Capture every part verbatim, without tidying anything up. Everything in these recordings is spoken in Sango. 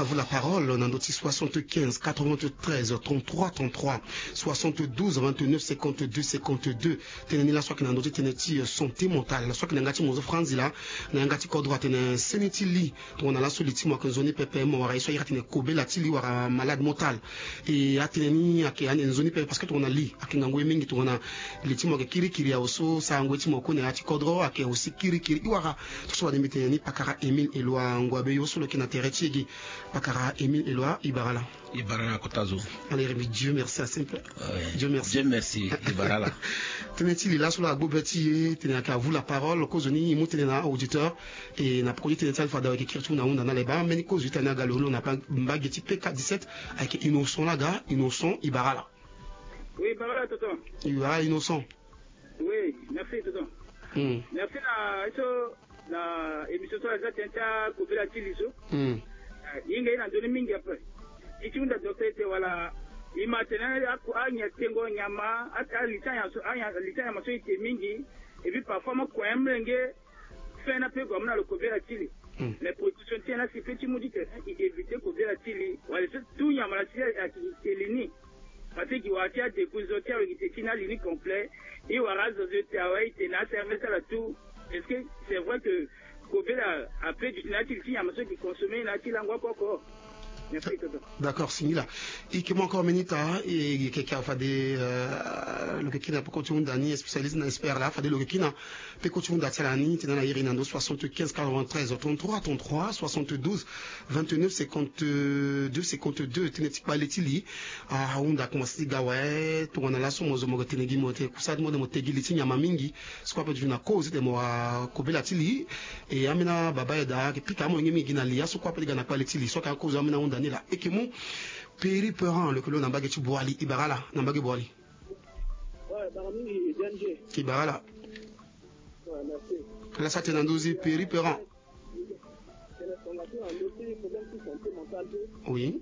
Vous la parole na ndö ti soixante-quinze quatre-vingt-treize trente-trois trente-trois, soixante-douze vingt-neuf cinquante-deux cinquante-deux. Tënë ni laso ayeke na ndö ti tënë ti santé mentale. Laso ayeke na yanga ti mo zo franzi laa, na yanga ti kodro atene seni ti li. Tongana laso li ti mo ayeke nzoni pepe, mo wara ye so ayeke atene kobela ti li wara malade mental. E atënë ni ayeke ande nzoni pepe parce que tongana li ayeke ngangu ye mingi, tongana li ti mo ayeke kirikiri awe so sarango ye ti mo kue na ya ti kodro ayeke aussi kirikiri. I wara so so wade mbi tene ni pakara Émile Eloi Ngouabeyo so lo yeke na tere ti e gi. Pakara Émile Eloi, i bara ala. I bara ala kota zo. Allez, Rémi, Dieu merci à simple. Ouais. Dieu merci. Dieu merci, i bara ala. Tënë ti li laso lo agbo be ti e tene ayeke à vous la parole, kozo ni i mu tënë na auditeur. E na peko ti tënë ti ala fade awe ayeke kiri ti mu na ahunda na ala e baa mbeni kozo ti tene aga lo lo na mbage ti P K dix-sept. Ayeke Innocent laga, Innocent, i bara ala. Oui, bara ala tonton. I bara ala Innocent. Oui, merci tonton. Hmm. Merci na so na émission so aza tënë ti akobela ti li so. Hmm. Eh, hinga ye na ndoni mingi ape. I ti hunda docteur ete wala i ma tene aku anya tengo nyama, ata li ti anya so, anya li ti nyama so i te mingi. Et puis parfois mo kue mlenge. Fin na pe gue amu na lo kobela ti li. Hmm. Mais protection ti en la si pe ti mu ti tene i éviter kobela ti li. Wala so tout nyama la si ayeke te li ni. Parce que gi wara ti adeku zo ti awe gi te ti na li ni complet. I wara azo zo te awe i te na aservice ala tout. Est-ce que c'est vrai que kobela ape duti na ya ti li ti nyama so gi consommer na ya ti lango oko oko? Merci tonton. D'accord, singila. I ke mu encore minute, ah, e yeke ke fade, euh, lo yeke kiri na peko ti hunda ni, spécialiste na expert la, fade lo yeke kiri na peko ti hunda ti ala ni, tene na iri na ndo soixante-quinze quatre-vingt-treize trente-trois trente-trois, soixante-douze vingt-neuf cinquante-deux cinquante-deux, tënë ti kpale ti li. Ah, ahunda komanse ti ga awe, tongana laso mo zo mo yeke tene gi mo tene kusa ti mo de mo te gi li ti nyama mingi. So kue ape ti na kozo ti tene mo wara kobela ti li. E ambeni ababa ayeke daa ayeke pika amolenge mingi gi na li, aso kue ape ti ga na kpale ti li. So ayeke akozo ambeni ahunda ni laa. E yeke mu Peri Peran, lo yeke lo na mbage ti Boali, i bara ala na mbage Boali. Ouais, bara mingi D M G. I bara ala. Ouais, merci. Ala sara tënë na ndö zi Peri Peran. Oui.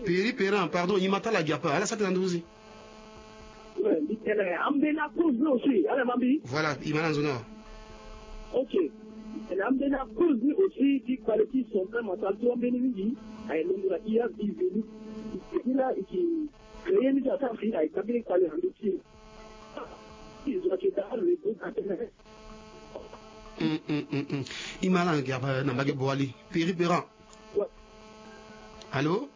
Peri Peran, pardon, i ma tala gi ape, ala sara tënë na ndö zi. Ouais, mbi tene ambeni akozo aussi, ala ma mbi. Voilà, i ma na nzoni awa. Ok. Tene ambeni akozo aussi ti kpale ti santé mentale so ambeni mingi aye londo na i ya viveni. Ila i ki créer ni ti asara fi aye ka mbeni kpale na ndö ti e. I zo ake daa le groupe atene. Mm, mm, mm, mm. I ma ala na gi ape na mbage Boali. Peri Peran. Ouais. Allô?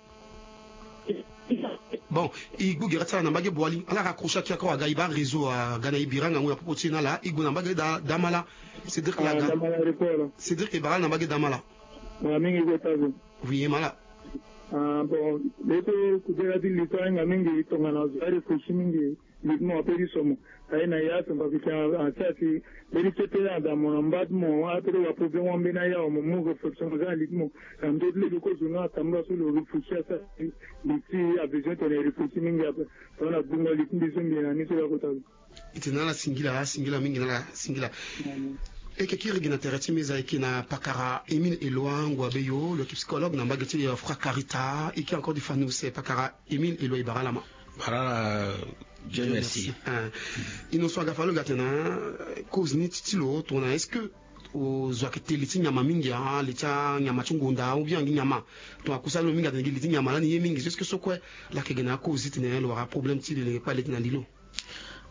Bon, i gbu gere ti ala na mbage Boali. Ala raccrocher aki ako aga, i baa réseau aga na i bira ngangu na popo ti e na ala. I gue na mbage da, Damala. Cédric, ah, Laga. Damala aéroport. Cédric e bara ala na mbage Damala. Ah, mingi kota zo. Oui, e ma ala. Ah, bon, le so kudera ti li so ahinga mingi tongana zo aréfléchi mingi. Li ti mo ape ti so mo aye na ya so mbi afikin asi asi. Mbeni so tënë ada mo na mba ti mo ape ti wa problème wâ mbeni aya wa mo mu réflexion mo za na li ti mo. Na ndö ti lege kozo nga atambula so lo réfléchi asi asi. Li ti avision tene réfléchi mingi ape. Tongana gbungo li ti mbi so mbi na ni so ya kota lo. E tene na ala singila, singila mingi na ala singila. E yeke kiri gi na tere ti meza e yeke na pakara Émile Eloi Ngouabeyo, lo yeke psychologue na mbage ti, euh, Fracarita. E yeke encore di fanus, pakara Émile Eloi, i bara ala ma. Bara ala, Dieu merci. Hein. Innocent, aga fa lo ga tene, euh, cause ni ti, ti lo tongana est-ce que, euh, zo ayeke te li ti nyama mingi, ah, li ti anyama ti ngonda ou bien angi nyama? Tongana kusa lo mingi atene gi li ti nyama lani ye mingi, est-ce que so kue la yeke gi na cause ti tene lo wara problème ti lo yeke kpale ti na li lo?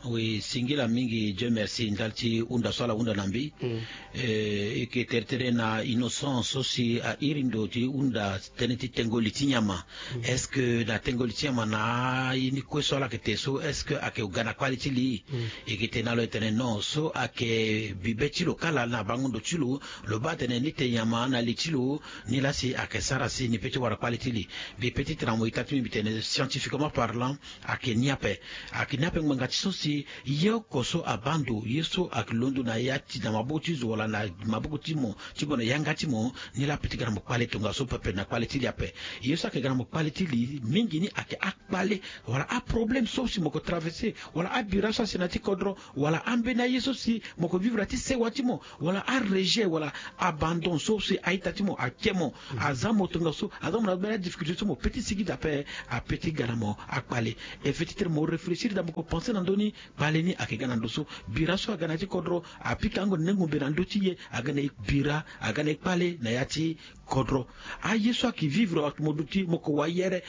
Oui, singila mingi, Dieu merci, ndali ti hunda so ala hunda na mbi. Mm. Eh, e yeke tere tere na Innocent so si a iri ndo ti hunda tënë ti tengo li ti nyama. Mm. Est-ce que na tengo li ti nyama na ye ni kue so ala yeke te so, est-ce que ayeke ga na kpale ti li? Mm. E yeke tene na lo e tene non, so ayeke bibe ti lo kala na bango ndo ti lo, lo baa tene ni te nyama na li ti lo, ni laa si ayeke sara si ni pe ti wara kpale ti li. Mbi pe ti tene na mo ita ti mbi, mbi tene scientifiquement parlant, ayeke ni ape. Ayeke ni ape ngbanga ti so si ye oko so abaa ndo, ye so ayeke londo na ya ti na maboko ti zo wala na maboko ti mo, ti mo na yanga ti mo, ni laa ape ti ga na mo kpale tongaso pepe na kpale ti li ape. Ye so ayeke ga na mo kpale ti li mingi ni ayeke akpale wala aproblème so si mo yeke traverser, wala abira so asi na ya ti kodro, wala ambeni aye so si mo yeke vivre na ya ti sewa ti mo, wala arejet, wala abandon so si a-ita ti mo ake mo, aza mo tongaso, aza mo na mbeni adifficulté so mo pe ti sigi daa ape, ape ti ga na mo akpale. E fait ti tene mo réfléchir daa mo yeke pensé na ndö ni, Kpale ni ayeke ga na ndo so. Bira so aga na ya ti kodro apika ango na nengo mbe na ndö ti e. Aga na e bira, aga na e kpale na ya ti kodro. Aye so ayeke vivre mo duti mo ko wa yere.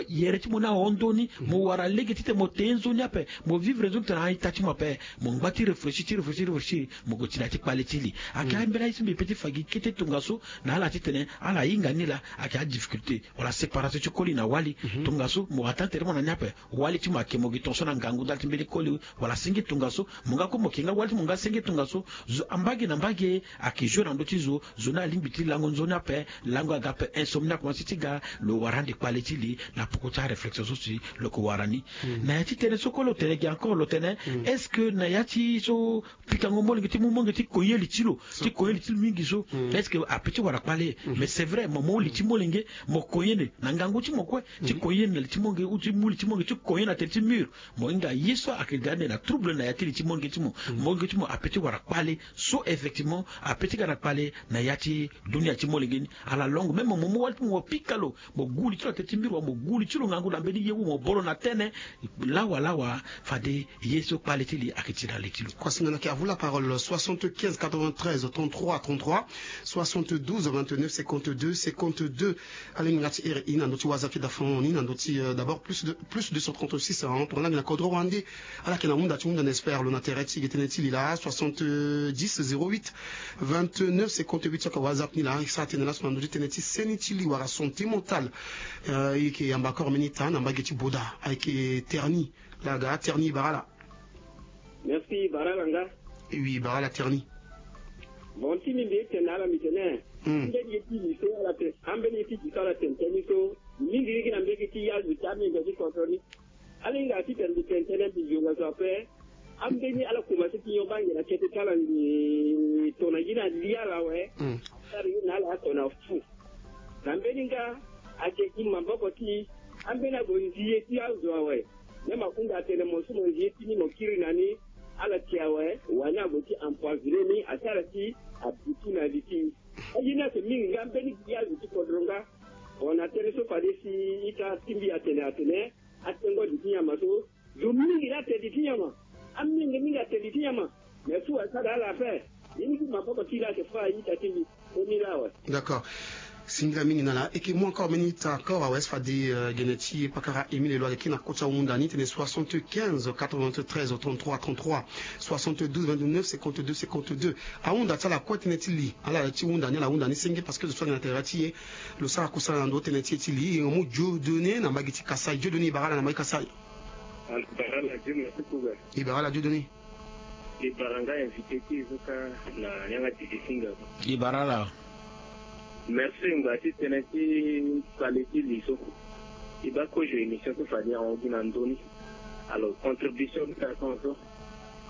Yere ti mo ni ahon ndoni. Mo wara lege titene mo te nzoni ape. Mo vivre nzoni tena a-ita ti mo ape. Mo ngba ti réfléchir ti réfléchir ti réfléchir. Mo ko ti na ya ti kpale ti li. Ayeke ambeni aye so mbi pe ti fa gi kete tongaso na ala titene ala hinga ni laa. Ayeke adifficulté wala séparation ti koli na wali. Tongaso mo attend tere mo na ni ape. Wali ti mo ayeke mo gi tongaso na ngangu ndali ti mbeni koli. Wala senge tongaso mo nga kue mo yeke nga wali ti mo nga senge tongaso. Zo ambage na mbage ayeke joue na ndö ti zo. Zo ni alingbi ti lango nzoni ape. Lango aga ape, insomnie akomanse ti ga. Lo wara ande kpale ti li na poko ti aréflexion so si lo yeke wara ni. Na ya ti tënë so kue lo tene gi encore lo tene, est-ce que na ya ti so pikango molenge ti mu molenge ti koye li ti lo, ti koye li ti lo mingi so, est-ce que ape ti wara kpale? Mais c'est vrai mo mu li ti molenge, mo koye ni na ngangu ti mo kue, ti koye ni na li ti molenge ou ti mu li ti molenge ti koye na tere ti mur. Mo hinga ye so ayeke ga ande na trouble na ya ti li ti molenge ti mo. Molenge ti mo ape ti wara kpale. So effectivement ape ti ga na kpale na ya ti dunia ti molenge ni. Ala longo même mo mu wali ti mo mo pika lo. Mo gu li ti lo na tere ti mbiri wa mo gu li ti lo ngangu na mbeni ye wu mo bolo na tene. Lawa lawa. Fade ye so kpale ti li ayeke ti na li ti lo. Kuasinga na ke avu la parole soixante-quinze quatre-vingt-treize trente-trois trente-trois, soixante-douze vingt-neuf cinquante-deux cinquante-deux. Alingbi nga ti iri i na ndö ti whatsapp ti dafon ni na ndö ti d'abord plus de plus deux cent trente-six. Tongana na kodro wande. Ala yeke na hunda ti hunda na expert lo na tere ti ge tënë ti li laa soixante-dix zéro huit vingt-neuf cinquante-huit so ayeke whatsapp ni laa e sara tënë laso na ndö ti tënë ti seni ti li wala santé mentale. E yeke yamba akor mbeni ita na mbage ti boda ayeke terni. Laa ga terni e bara ala. Merci e bara ala nga. E wi e bara ala terni. Bon ti mbi mbi ye ti tene na ala mbi tene, ambeni ye ti li so ala tene ambeni ye ti li so ala tene tënë ni so. Mingi mingi na mbege ti yazu ti amenge ti kodro ni. Ala hinga titene mbi tene tënë mbi zonga so ape. Ambeni ala komanse ti nyon bange na kete ti ala ngi tona gi na li ala awe. Asara ye na ala atona fu. Na mbeni nga ayeke gi maboko ti ambeni ague nzi ye ti azo awe. Même ahunda atene mo so mo nzi ye ti ni mo kiri na ni. Ala ti awe wani ague ti empoisonner ni asara ti abutu na li ti. Aye ni ayeke mingi nga mbeni gi azo ti kodro nga. Bon na tënë so fade si ita ti mbi atene atene atengo li ti nyama so. Zo mingi laa te li ti nyama. Amenge mingi ate li ti nyama. Mais fu asara ala ape. Ye ni ti maboko ti laa ayeke fâ a-ita ti mbi. Koni laa awe. D'accord. Singila mingi na ala e yeke mu encore mbeni ita encore awe si fade gene ti pakara Émile lo ayeke kiri na kota hunda ni tene soixante-quinze quatre-vingt-treize trente-trois trente-trois, soixante-douze vingt-neuf cinquante-deux cinquante-deux. Ahunda ti ala kue tënë ti li ala ti hunda ni ala hunda ni senge parce que zo so ayeke na tere ti e. Lo sara kusala na ndo tënë ti e ti li e mu Dieudonné na mbage ti Kasaï. Dieudonné e bara ala na mbage ti Kasaï. E bara ala Dieudonné. E bara nga invité ti e so kâ na yanga ti e ti singa. E bara ala. Merci ngba ti tënë ti kpale ti li so. E baa kozo émission so fade ahon gi na ndö ni. Alors contribution ti tene so.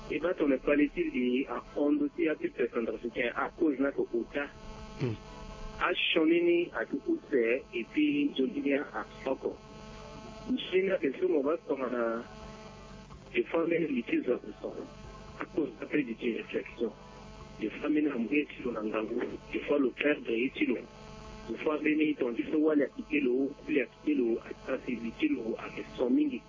E baa tongana kpale ti li ahon ndö ti apeuples centrafricain akozo ni ayeke ota. Asioni ni ayeke use. Et puis nzoni ni ayeke oko. Nzoni ni ayeke so mo baa tongana. Des fois mbeni li ti zo ape so. Akozo ni ape li ti réflexion. Des fois mbeni amu ye ti lo na ngangu. Des fois lo perdre ye ti lo. Des fois mbeni tonga ti so wali akite lo, kuli akite lo, asara si li ti lo ayeke so mingi.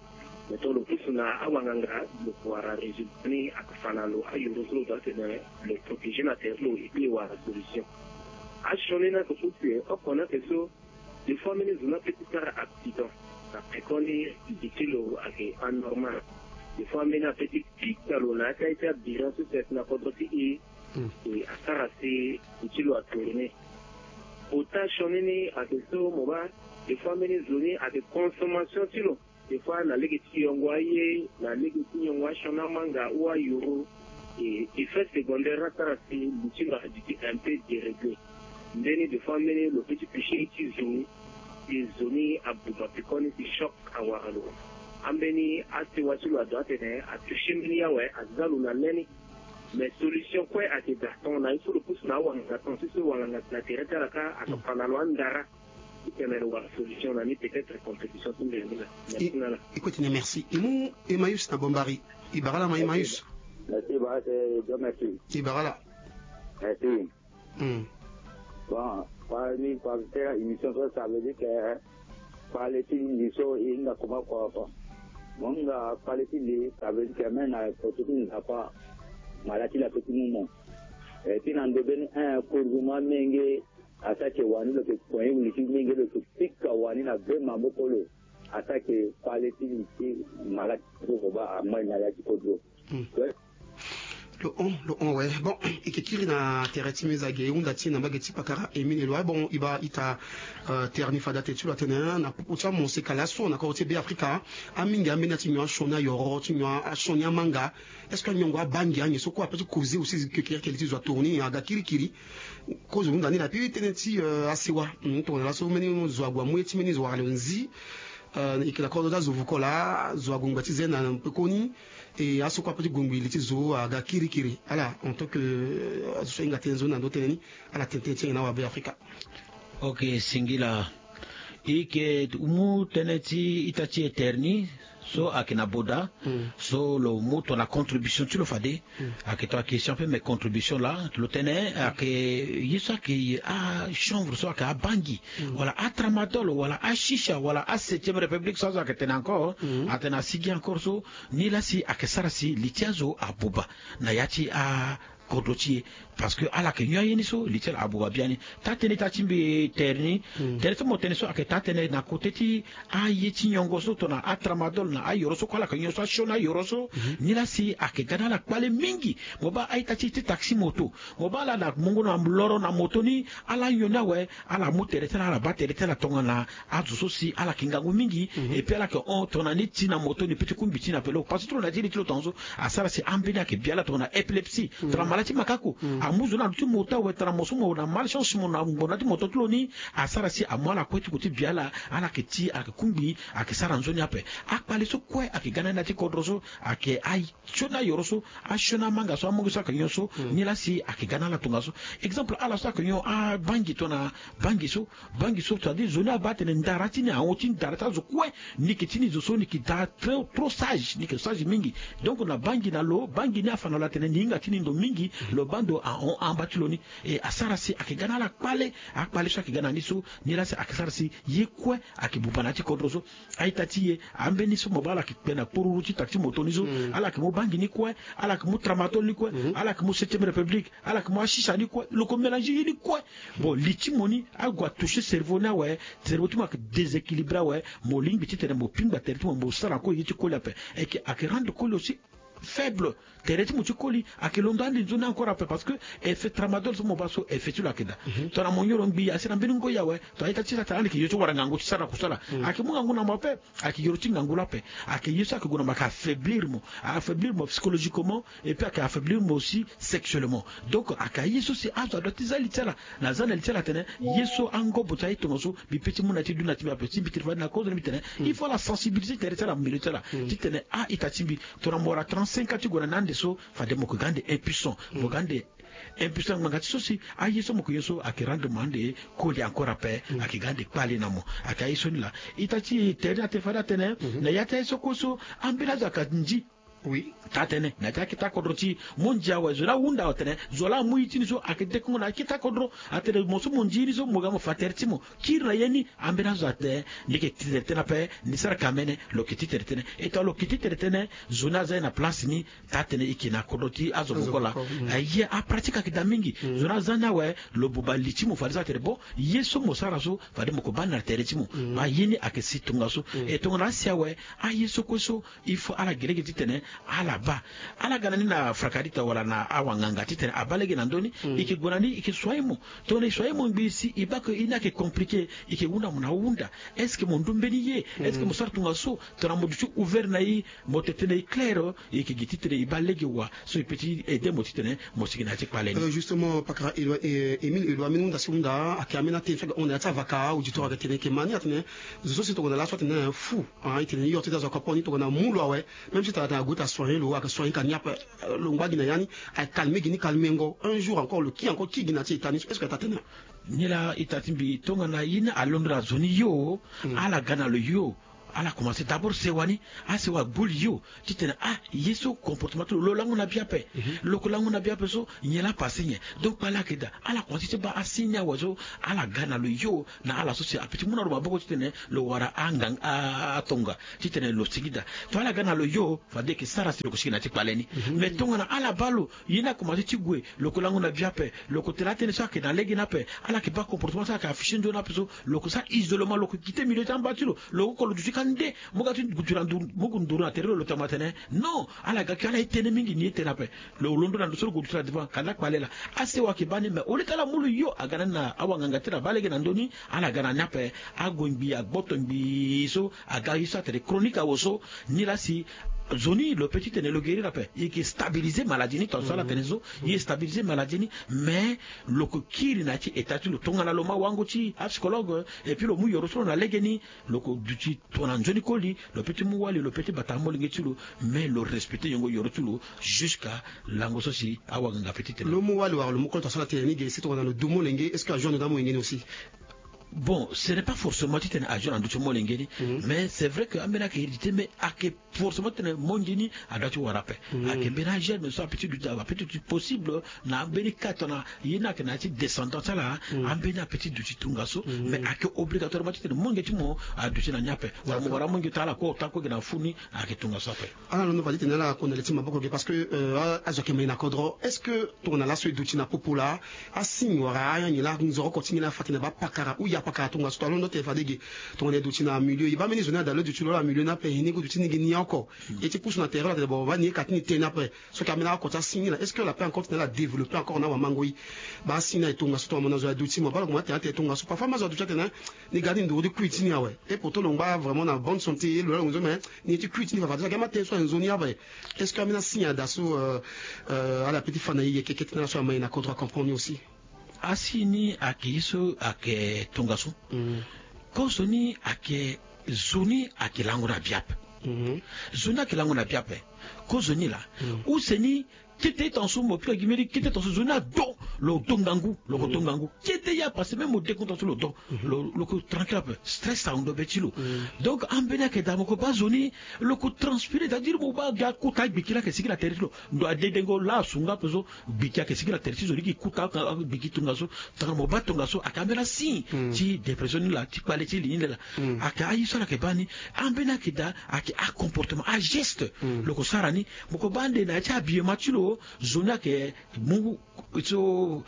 Mais tongana lo pusu na awanganga lo ko wara résultat ni ayeke fa na lo ayoro so lo doit tene lo protéger na tere ti lo et puis e wara solution. Asioni ni ayeke pusu e oko ni ayeke so. Des fois mbeni zo ni ape ti sara accident. Na pekoni li ti lo ayeke anormal. Des fois mbeni ape ti pika lo na ya ti aye ti abira so si ayeke na kodro ti e. E asara si li ti lo atourner. Ota sioni ni ayeke so mo baa. Des fois mbeni zo ni ayeke consommation ti lo. Des fois na lege ti yongo aye, na lege ti yongo asioni amanga ou ayoro. E effet secondaire ni asara si li ti lo aduti un peu déréglé. Mbeni des fois mbeni lo pe ti toucher ye ti zo. E zo ni abuma pekoni si choc awara lo. Ambeni asewa ti lo adoit atene atoucher mbeni ye awe aza lo na le ni. Mais solution kue ayeke daa tongana ye so lo pusu na awanganga tongana so so wanganga na tere ti ala kâ ayeke fa na lo andara. Ti tene lo wara solution na ni peut-être contribution ti mbela ni la. Merci na ala. E kue tene merci e mu Emmaüs na Bombari. E bara ala ma Emmaüs. Merci bara c'est Dieu merci. E bara ala. Merci. Bon, parmi parmi tena émission so ça veut dire que parler ti mbi so e hinga comment quoi quoi. Mo hinga kpale ti li, ça veut dire que même na poto ti Nzapa, mala ti la pe ti mu mo. Eh, ti na ndo mbeni, eh, kurzu mo amenge, asara ke wani lo ke kuen wili ti menge lo ke pika wani na be maboko lo. Asara ke kpale ti li ti mala ti kodro ba amai na ya ti kodro. Hmm. Ouais. Lo hon, lo hon, ouais. Bon, e ke kiri na tere ti mezage, e hunda ti e na mbage ti pakara Émile Éloy. Bon, e baa ita, euh, tere ni fade ate ti lo atene na popo ti amoseka laso na kodro ti Be Afrika, amingi ambeni ti nyon asioni ayoro, ti nyon asioni amanga. Est-ce que anyongo abangi anyen so kue ape ti koze aussi ke kiri ke li ti zo atourni aga kirikiri. Kozo hunda ni na pi tënë ti, euh, asewa. Hmm, tongana laso mbeni zo ague amu ye ti mbeni zo wara lo nzi. Euh, e yeke na kodro ti azo vuko laa, zo ague ngba ti zen na pekoni. E aso kue ape ti gue ngbi li ti zo aga kirikiri. Ala, en tant que, euh, azo so ahinga tënë nzoni na ndo tënë ni, ala tene tënë ti e na awabe Afrika. Ok, singila. E yeke mu tënë ti ita ti e tere ni so ayeke na boda. Hmm. So lo mu tongana contribution ti lo fade. Hmm. Ayeke tongana question ape, mais contribution laa lo tene ayeke ye so ayeke achanvre so ayeke abangi. Hmm. Wala atramadol, wala ashisha, wala aseptième république so azo ayeke tene encore. Hmm. Atene asigi encore so, nilaa si ayeke sara si li ti azo abuba na ya ti a kodro ti e. Parce que ala yeke nyon aye ni so li ti ala abuba biani. Taa-tënë ita ti mbi tere ni. Hmm. Tere so mo tene so ayeke taa-tënë na kote ti aye ti nyongo so tongana atramadol na ayoro so kue ala yeke nyon so asioni ayoro so. Mhm. Nilaa si ayeke ga na ala kpale mingi. Mo baa a-ita ti e ti taxi moto. Mo baa ala na mungo na loro na moto ni, ala nyon ni awe. Ala mu tere ti ala, ala baa tere ti ala tongana azo so si ala yeke ngangu mingi. Mhm. Et puis ala yeke hon tongana ni ti na moto ni pe ti kungbi ti ni ape lo. Parce que tongana ti li ti lo tongaso, asara si ambeni ayeke bia ala tongana épilepsie. Mhm. Tongana mala ti makako. Mhm. Amu zo ni na ndo ti moto awe, tongana mo so mo na malchance mo na ngbonda ti moto ti lo ni, asara si amu ala kue ti ko ti bia ala, ala yeke ti, ala yeke kungbi, ayeke sara nzoni ape. Akpale so kue ayeke ga na ni na ya ti kodro so, ayeke aye. Sioni ayoro so, asioni amanga so, amonge so ayeke nyon so. Hmm. Nilaa si ayeke ga na ala tongaso. Exemple, ala so ayeke nyon abangi tongana bangi so, bangi so, c'est-à-dire zo ni abaa atene ndara ti ni ahon ti ndara ti azo kue. Ni yeke ti ni zo so ni yeke da trop, trop sage, ni yeke sage mingi. Donc na bangi na lo, bangi ni afa na lo atene ni hinga ti ni ndo mingi, lo baa ndo ahon amba ti lo ni. E asara si ayeke ga na ala kpale, akpale so ayeke ga na ni so, nilaa si ayeke sara si ye kue ayeke buba na ya ti kodro so. A-ita ti e, ambeni so mo baa ala yeke kpe na kporuru ti taxi moto ni so, hmm, ala yeke mu bangi ni kue, ala yeke mu tramadol ni kue, mhm, ala yeke mu septième république, ala yeke mu asisa ni kue, lo ko mélange ye ni kue. Bon, li ti mo ni ague atouche cerveau ni awe, cerveau ti mo ayeke déséquilibré awe, mo lingbi titene mo pingba tere ti mo, mo sara kue ye ti koli ape. Ayeke, ayeke rendre koli aussi faible. Tere ti mo ti koli ayeke londo ande nzoni encore ape, parce que effet tramadol so mo baa so effet ti lo ayeke daa. Mhm. Tongana mo nyon lo ngbii asi na mbeni ngoi awe, tongana ita ti sara tara ande ayeke yo ti wara ngangu ti sara na kusala. Mhm. Ayeke mu ngangu na mo ape, ayeke yoro ti ngangu lo ape. Ayeke ye so ayeke gue na mo, ayeke affaiblir mo, affaiblir mo psychologiquement, et puis ayeke affaiblir mo aussi sexuellement. Donc ayeke aye so si azo adoit ti za li ti ala. Na za na li ti ala atene ye so angobo ti aye tongaso, mbi pe ti mu na ya ti dunia ti mbi ape, si mbi tene fade na kozo ni mbi tene, hmm, il faut ala sensibiliser tere ti ala, milieu ti ala, hmm, titene a-ita ti mbi, tongana mo wara trente-cinq ans ti gue na ni ande so, fade mo yeke ga ande impuissant, mo, hmm, ga ande impuissant ngbanga ti so si aye so mo yeke nyon so ayeke rendre mo ande koli encore ape, hmm, ayeke ga ande kpale na mo. Ayeke aye so ni laa. Ita ti tere ni atene fade atene, mhm, na ya ti aye so kue so ambeni azo ayeke nzi. Oui. Taa-tënë, na ya ti akete akodro ti e, mo nzi awe, zo laa ahunda awe atene zo laa amu ye ti ni so ayeke dekongo na akete akodro. Atene mo so mo nzi ye ni so, mo ga mo fa tere ti mo kiri na ye ni. Ambeni azo atene ni yeke ti tere tënë ape, ni sara kamene, lo yeke ti tere tënë. E tongana lo yeke ti tere tënë, zo ni aza ye na place ni. Taa-tënë e yeke na kodro ti azo, azo voko laa, voko, mm, aye apratique ayeke daa mingi. Mm. Zo ni aza ni awe, lo buba li ti mo fade so atene bon, ye so mo sara so fade mo yeke baa ni na tere ti mo. Mm. Baa ye ni ayeke si tongaso. Mm. E tongana asi awe, aye so kue so, il faut ala gi lege titene ala baa. Ala ga na ni na frakadita wala na awanganga titene abaa lege na ndö ni. Mm. E yeke gue na ni, e yeke soigner mo. Tongana e soigner mo ngbii si e baa ke ye ni ayeke compliqué, e yeke hunda mo na ahunda. Est-ce que mo ndu mbeni ye? Est-ce que, mm, mo sara tongaso? Tongana mo duti ouvert na e, mo tene tënë e clair, e yeke gi titene e baa lege wa so e peut ti aider mo titene mo sigi na ya ti kpale ni. Euh, justement, pakara Éloy, euh, Émile Éloy, ambeni hunda si hunda ayeke ambeni atene so ayeke hon na ya ti avaka, auditeur ayeke tene e yeke ma ni atene zo so si tongana laso atene fou. Ah, e tene ni yo ti da zo akopo ni tongana mu lo awe. Même si tongana ague ti asoigner lo, ayeke soigner ka ni ape, euh, lo ngba gi na ya ni, ayeke calmer gi ni calmengo. Un jour encore lo ki encore ki gi na ti ita ni so, est-ce que ita tene? Ni laa ita ti mbi tongana ye ni alondo na zo ni yo, mm, ala ga na lo yo. Ala commencé d'abord sewa ni. Asewa gbu li yo titene ah ye so comportement ti lo lo lango na bia ape. Lo ko lango na bia ape so nyen la apase nyen? Donc kpale ayeke daa. Ala commencé ti baa asigne ni awe so ala ga na lo yo na ala so si ape ti mu na lo maboko titene lo wara anganga atonga titene lo sigi daa. To ala ga na lo yo fade eke sara si lo ko sigi na ya ti kpale ni. Mais tongana ala baa lo ye ni akomanse ti gue, lo ko lango na bia ape. Lo ko tene atënë so ayeke na lege ni ape. Ala yeke baa comportement so ayeke affiché nzoni ape so lo ko sara isolement, lo ko kite milieu ti amba ti lo. Lo oko lo duti kande mu ga ti duti na nduru mu gue nduru na tere lo lo tama tene non. Ala ga kio ala ye tënë mingi ni ye tënë ape. Lo londo na ndo so lo gue duti na devant kanda kpale laa. Asewa ayeke baa ni mais au lieu ti ala mu lo yo aga na ni na awanganga ti lo abaa lege na ndö ni. Ala ga na ni ape. Ague ngbii agboto ngbii so aga ye so atene chronique awe so. Nilaa si nzoni lo pe titene lo guérir ape. E yeke stabiliser maladie ni tonga so ala tene so. E stabiliser maladie ni. Mais lo ko kiri na ya ti état ti lo tongana lo ma wango ti apsychologue. Et puis lo mu yoro so lo na lege ni. Lo ko duti tongana nzoni koli. Lo pe ti mu wali lo pe ti bata amolenge ti lo. Mais lo respecter yongo yoro ti lo jusqu'à lango so si awanganga pe titene lo mu wali wala lo mu koli tonga so ala tene ni ge si tongana lo du molenge est-ce que ajour ando na amolenge ni aussi? Bon, ce n'est pas forcément titene ajour ando ti molenge ni. Mais c'est vrai que ambeni ayeke hérédité mais ayeke forcément titene molenge ni adoit ti wara ape. Ayeke mbeni agerme so ape ti duti ape ti duti possible. Na ambeni cas tongana ye ni ayeke na ya ti descendant ti ala. Ambeni ape ti duti tongaso. Mais ayeke obligatoirement titene molenge ti mo aduti na ni ape. Wala mo wara molenge ti ala kue ota kue gi na fu ni. Ayeke tongaso ape. Ala londo fade ti tene ala konda le ti maboko ge parce que azo ayeke mai na kodro. Est-ce que tongana laso e duti na popo laa asigne wala anyen laa nzoro oko ti nyen laa afa tene baa pakara ou ya pakara tongaso to alondo tene fade ge? Tongana e duti na milieu e baa mbeni zo ni ada lo e duti lo ala milieu ni ape e ni gue duti ni gi ni oko. E ti pusu na tere lo atene bon baa ni ye ka ti ni tene ape. So ayeke ambeni oko ti asigne ni laa est-ce que ala pe encore tene ala développer encore na awamango ye? Baa asigne ni aye tongaso tongana mo na zo aye duti mo baa lo mo atene atene tongaso parfois ma zo aduti atene ni ga ni nduru ti kui ti ni awe. Et pourtant lo ngba vraiment na bonne santé lo laa lo nzoni mais ni ye ti kui ti ni fafa déjà gi ama tënë so aye nzoni awe. Est-ce que ambeni asigne ada so ala pe ti fa na e yeke kete na ala so amai na kodro acomprendre ni aussi? Asigne ni ayeke ye so ayeke tongaso. Kozo ni ayeke zo ni ayeke lango na bia ape. Zo ni ayeke lango na bia ape. Kozo ni laa use ni kete tongaso mo pika gi mbeni kete tongaso zo ni ado. Lo do ngangu lo ko do ngangu. Kete ya parce que même mo de kota so lo do lo ko tranquille ape. Stress ahon ndo be ti lo. Donc ambeni ayeke daa mo ko baa zo ni lo ko transpiré c'est-à-dire mo baa ga kota agbiki laa ayeke sigi na tere ti lo. Ndo adedengo laa asu nga ape so. Gbiki ayeke sigi na tere ti zo ni gi kuta gbiki tongaso. Tongana mo baa tongaso ayeke ambeni asigne ti dépression ni laa ti kpale ti li ni laa. Ayeke aye so ala yeke baa ni. Ambeni ayeke daa ayeke acomportement ageste lo ko sara ni. Mo ko baa ande na ya ti habillement ti lo. Zo ni ayeke mu so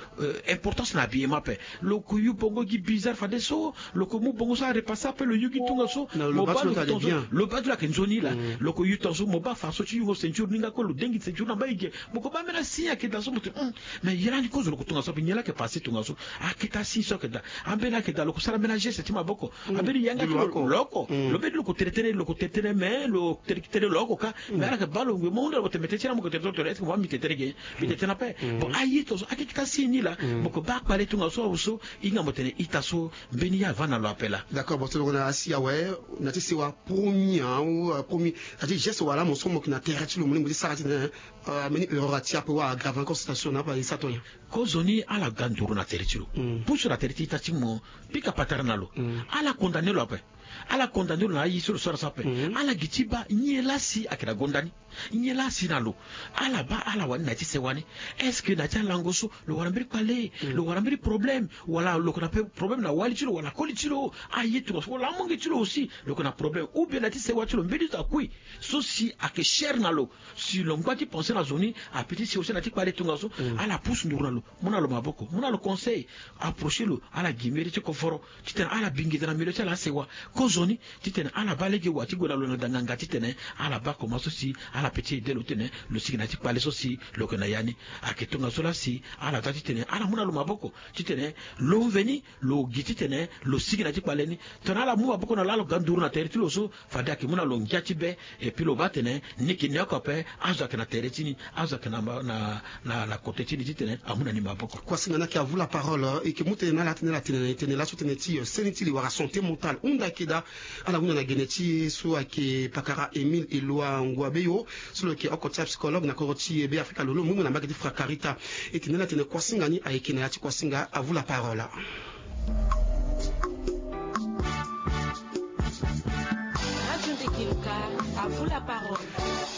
importance na habillement ape. Lo ko yu bongo gi bizarre fadeso. Lo ko mu bongo so arepassé ape lo yu gi tongaso. Mo baa lo tongaso lo baa ti lo ayeke nzoni laa. Lo ko yu tongaso mo baa faso ti yungo ceinture ni nga kue lo dengi ceinture na mbage. Mo ko baa mbeni asigne ayeke daa so mo tene hum. Mais ye lani kozo lo ko tongaso ape nyen laa ayeke passé tongaso? Akete asigne so ayeke daa. Ambeni ayeke daa lo ko sara mbeni ageste ti maboko. Ambeni yanga ti lo lo oko lo mbeni lo ko tere tënë lo ko tere tënë mais lo tere tënë lo oko ka. Mais ala yeke baa lo ngue mo hunda lo mo tene mete ti laa mo ko tere tënë tene est-ce que mo baa mbi tere tënë ge? Mbi tere tënë ape. Bon aye tongaso akeke ti asigne ni laa. Mo ko baa kpale tongaso awe so. Hinga mo tene ita so mbeni ya avanda na lo ape laa. D'accord bon so lo ko na asi awe. Na ti sewa premier ou premier na ti geste wala mo so mo yeke na tere ti lo mo lingbi ti sara titene. Ambeni erreur ati ape wala aggrave encore situation na ape e sa to nyen? Kozoni ala ga nduru na tere ti lo. Pusu na tere ti ita ti mo. Pika patara na lo. Ala condamné lo ape. Ala condamné lo na aye so lo sara so ape. Ala gi ti baa nyen laa si ayeke na gonda ni. Nyen laa si na lo. Ala baa ala wani na ya ti sewa ni. Est-ce que na ya ti alango so lo wara mbeni kpale? Lo wara mbeni problème? Wala lo yeke na pe problème na wali ti lo wala koli ti lo? Aye tongaso wala amonge ti lo aussi lo yeke na problème ou bien na ya ti sewa ti lo mbeni zo akui so si ayeke cher na lo. Si lo ngba ti pensé na zo ni ape ti si aussi na ti kpale tongaso. Ala pusu nduru na lo mu na lo maboko mu na lo conseil. Approché lo ala gi mbeni ti koforo titene ala bingida na milieu ti ala asewa. Kozoni titene ala baa lege wa ti gue na lo na danganga titene ala baa koma so si ala pe ti aidé lo titene lo sigi na ti kpale so si lo yeke na ya ni. Ayeke tongaso laa si ala daa titene ala mu na lo maboko titene lo mveni lo gi titene lo sigi na ti kpale ni. Tongana ala mu maboko na lo ala ga nduru na tere ti lo so fade ayeke mu na lo ngia ti be. Et puis lo baa atene ni yeke ni oko ape azo ayeke na tere ti ni. Azo ayeke na kote ti ni titene amu na ni maboko. Kuasinga ni ayeke à vous la parole. E yeke mu tënë na ala atene ala tene na e tënë laso tënë ti seni ti li wala santé mentale hunda ayeke daa. Ala hunda na gene ti e so ayeke pakara Émile Eloi Ngouabeyo so lo yeke oko ti apsychologue na kodro ti Be Afrika lo lo mu mu na mbage ti Frakarita. E tene ni atene kuasinga ni ayeke na ya ti kuasinga. À vous la parole.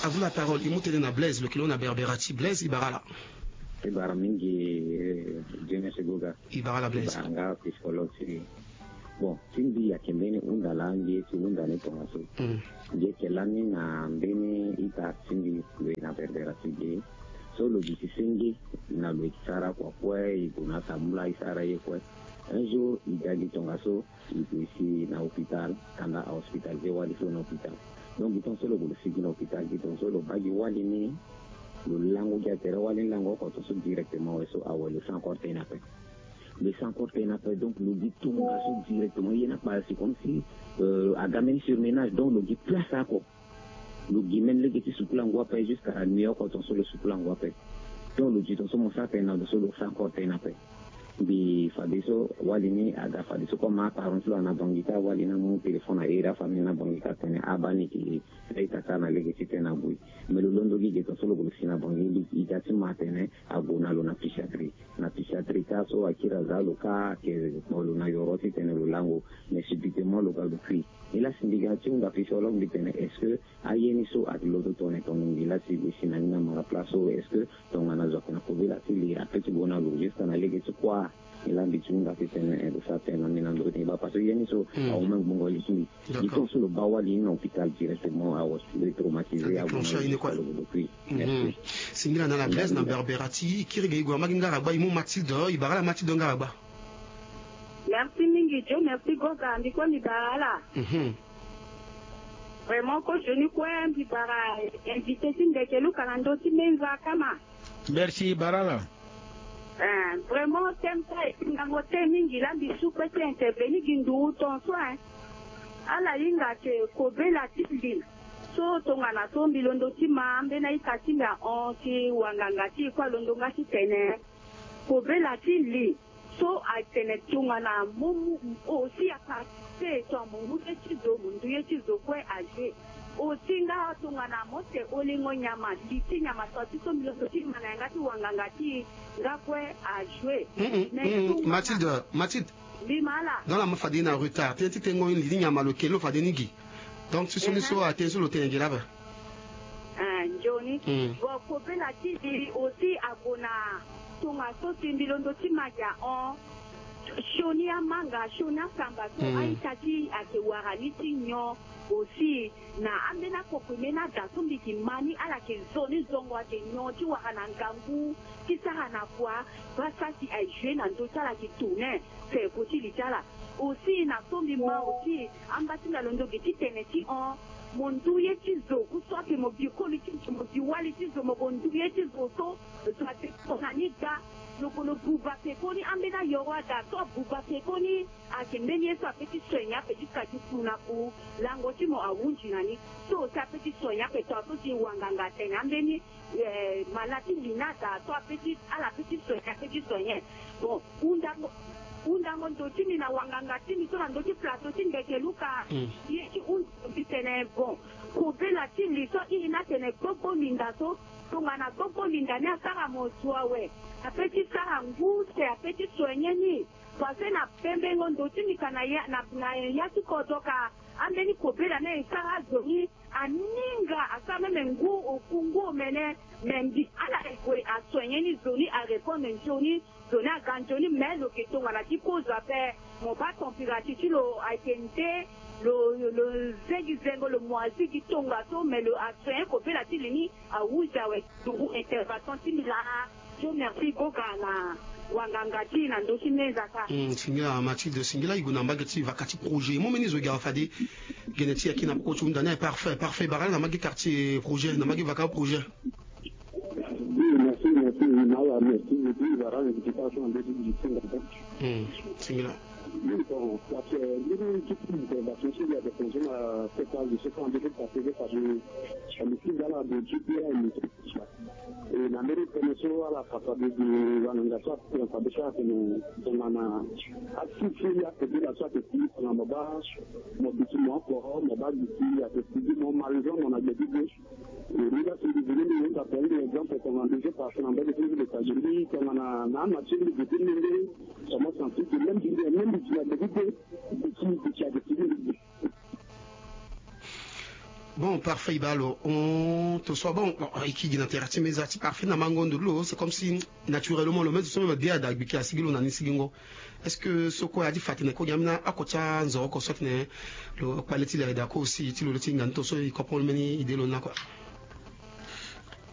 À vous la parole. E mu tënë na Blaise, lo yeke lo na Berbera ti. Blaise, e bara ala. E bara mingi. Dieu merci, Goga. E bara ala Blaise. E bara nga psychologue ti. Bon, ti mbi ayeke mbeni hunda laa mbi ye ti hunda ni tongaso. Mbi yeke lani na mbeni ita ti mbi, lo ye na Berbera ti ge. So lo duti senge na lo ye ti sara kua kue, e gue na atambula e sara ye kue. Un jour e ga gi tongaso, e gue si na hôpital, kanda a hospitalisé wali so na hôpital. Donc gi tongaso lo gue lo si gi na hôpital, gi tongaso lo baa gi wali ni. Lo lango gi atere wali ni lango oko tongaso directement, awe so awe lo sara encore tënë ape. Lo sara encore tënë ape, donc lo gi tongaso directement, ye ni akpara si comme si, euh, aga mbeni surmenage, donc lo gi place oko. Lo gi même lege ti sukulango ape jusqu'à la nuit oko tongaso lo sukulango ape. Donc lo gi tongaso mo sara tënë na lo so lo sara encore tënë ape. Mbi fadeso wali ni aga fadeso comme aparent ti lo ana bangi kâ, wali ni amu téléphone airi afamille ni na bangi kâ atene abaa ni yeke na ita kâ na lege ti tënë abui. Mais lo londo gi ge tongaso lo gue lo si na bangi, e ga ti ma atene ague na lo na psychiatrie. Na psychiatrie kâ so akiri aza lo kâ ayeke kpo lo na yoro titene lo lango. Mais subitement lo ga lo kui. E lasi mbi ga ti hunda psychologue mbi tene est-ce que aye ni so ayeke londo tongana e tongana mbi lasi e gue si na ni na mara place so, est-ce que tongana zo ayeke na kobela ti li ape ti gue na lo jusqu'à na lege ti kuâ? E laa mbi ti hunda titene, eh, lo sara tënë na mbi na ndö ni baa parce que ye ni so awe même gbongo li ti mbi. Gi tongaso lo baa wali ni na hôpital directement, awe lo traumatisé, awe lo kui. Merci. Singila na ala Blaise na Berbera ti. E kiri ge e gue na mbage ngara gba, e mu Mathilde. E bara ala Mathilde ngara gba. Merci mingi Joe, merci Goga, mbi kue mbi bara ala. Vraiment ko Johnny kue mbi bara invité ti Ndeke Luka na ndö ti Menza Kama. Merci, e bara ala. Eh, vraiment thème so ayeke ngango te mingi laa mbi su kue ti intervenir gi nduru tongaso, hein. Ala hinga ayeke kobela ti li. So tongana so mbi londo ti ma ambeni a-ita ti mbi ahon ti wanganga ti e kue alondo nga titene kobela ti li. So atene tongana mo mu aussi aparticiper tongana mo mu ye ti zo, mo ndu ye ti zo kue ajouer. Aussi nga tongana mo te olingo nyama, li ti nyama so ti so mbi londo ti ma na yanga ti wanganga ti e nga kue ajouer. Mais tongana Mathilde, Mathilde. Mbi ma ala. Donc la mo fade na retard. Tënë ti tengo ni li ti nyama lo yeke lo fade ni gi. Donc ti so ni so atënë so lo tene gi laa ape. Eh, nzoni. Bon, kobela ti li aussi ague na tongaso si mbi londo ti ma gi ahon. Sioni amanga, sioni asamba so a-ita ti e ayeke wara ni ti nyon aussi. Na ambeni akokui mbeni ada so mbi yeke ma ni ala yeke zo ni zongo ayeke nyon ti wara na ngangu ti sara na kua. Baa sara si aye jouer na ndö ti ala ayeke tourner. Feko ti li ti ala. Aussi na so mbi ma aussi amba ti mbi alondo gi ti tene ti hon. Mo ndu ye ti zo, ku so ayeke mo bi koli ti zo, mo bi wali ti zo, mo gue ndu ye ti zo so, zo ate so na ni ga. Lo gue lo buba pekoni, ambeni ayoro ada so abuba pekoni. Ayeke mbeni ye so ape ti soigner ape jusqu'à ti ku na ku. Lango ti mo ahunzi na ni. So aussi ape ti soigner ape, tongaso si wanganga atene ambeni, eh, malade ti li ni ada so ape ti, ala ape ti soigner, ape ti soigner. Bon, hundango, hundango ndo ti mbi na wanganga ti mbi so na ndö ti plateau ti Ndeke Luka. Ye ti hunda mbi tene bon, kobela ti li so airi ni atene gbogbo linda so, tongana gbogbo linda ni asara mo zo awe, ape ti sara ngu se ape ti soigner ni. Parce que na pembengo ndo ti mbi ka na ya, na, na ya ti kodro ka, ambeni kobela ni aye sara azo ni, aninga asara même ngu oku ngu omene. Me mbi ala aye gue asoigner ni, zo ni arépondre nzoni, zo ni aga nzoni, mais lo yeke tongana ti kozo ape. Mo baa température ti lo ayeke nde, lo, lo ze gi zengo, lo moisi gi tongaso, mais lo asoigner kobela ti li ni. Awuzi awe. Nduru intervention ti mbi laa. Dieu merci Goga na wanganga ti e na ndö ti Menza kâ. Hmm, singila Mathilde, singila e gue na mbage ti vaka ti projet. E mu mbeni zo e ga fade gene ti e ayeke na peko ti hunda ni aye. Parfait, parfait. E bara ala na mbage quartier projet, na mbage vaka projet. Oui, merci, merci. Oui, na ala, merci. Et puis, e bara ala invitation na ndö ti mbi ti Menza kâ. Hmm, singila. Oui, bon, parce que, euh, mbeni ti ti intervention ti mbi ayeke concerne na sept ans de sept ans de sept ans. E na mbeni tënë so ala fa fade gi wanganga so atene fade so atene tongana asi ti akobela so ayeke kulipa na mo baa mo duti mo oko, mo baa duti ayeke kulipa mo, mo ma raison mo na gbe ti gbe. E ni laa si mbi veni mbi yeke fa mbi exemple tongana mbi zo parce que na mbage ti mbi lo fa gi mbi tongana na ama ti mbi duti mbi nde so mo sentir que même mbi nde même mbi ti na gbe ti gbe. Duti duti ayeke kulipa mbi. Bon, parfait, i baa lo hon to so. Bon, bon, e ki gi na tere ti meza ti parfait na mango ndo ti lo, c'est comme si naturellement lo même so même dia da gbiki asigi lo na ni sigingo. Est-ce que so kue adi fa tene ko gi ambeni oko ti anzoro oko so tene lo kpale ti li ayeda ko aussi ti lo le ti hinga ni to so e comprendre mbeni idée lo ni la kue?